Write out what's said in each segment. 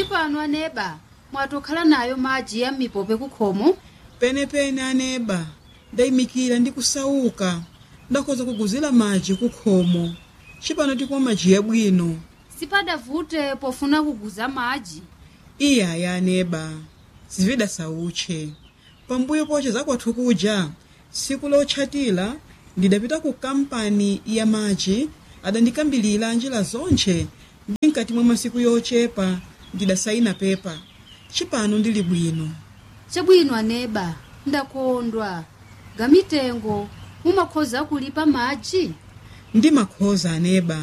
Cipano aneba mwatokhala nayo madzi ya m'mipope kukhomo. Penepene aneba, ndayimikira ndi kusauka, ndakhoza kuguzira madzi kukhomo. Cipano tikumwa madzi yabwino. Sipadavute pofuna kuguza madzi. Iyaya aneba, zividasauche. Pambuyo poche zakwathu kuja tsiku lotchatira ndidapita ku kampani ya madzi, adandikambilira njira zonche ndi mkati mwa masiku yochepa ndidasayina pepa. Cipano ndili bwino. Chabwino aneba, ndakondwa. Gamitengo mumakhoza kulipa madzi. Ndi makhoza aneba,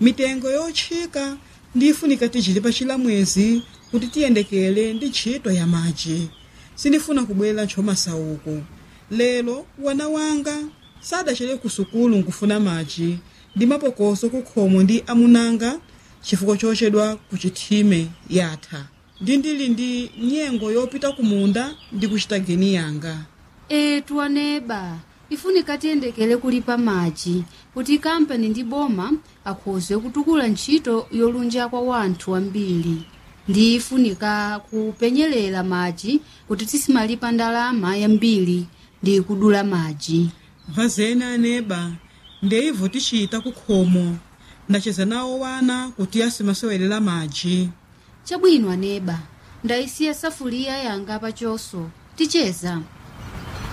mitengo yotchika ndifunika tichilipa chilamwezi kuti tiyendekere ndi ntchito ya madzi. Sindifuna kubwera ntchomasauko. Lero wana wanga sadachere ku sukulu nkufuna madzi ndi mapokoso kukhomo ndi amunanga chifukwa chochedwa ku chithime yatha. Ndi ndili ndi nyengo yopita kumunda ndi kuchita geni yanga. Etu aneba, ifunika tiyendekere kulipa madzi kuti kampani ndi boma akhoze kutukula ntchito yolunja kwa wanthu ambiri. Ndi ifunika kupenyerera madzi kuti tisimalipa ndalama yambiri ndi kudula madzi. Vazeni aneba, ndeivo tichita kukhomo. Ndacheza nawo wana kuti asimasewelera madzi. Chabwino aneba, ndayisiya safuliya yanga pachoso, ticheza.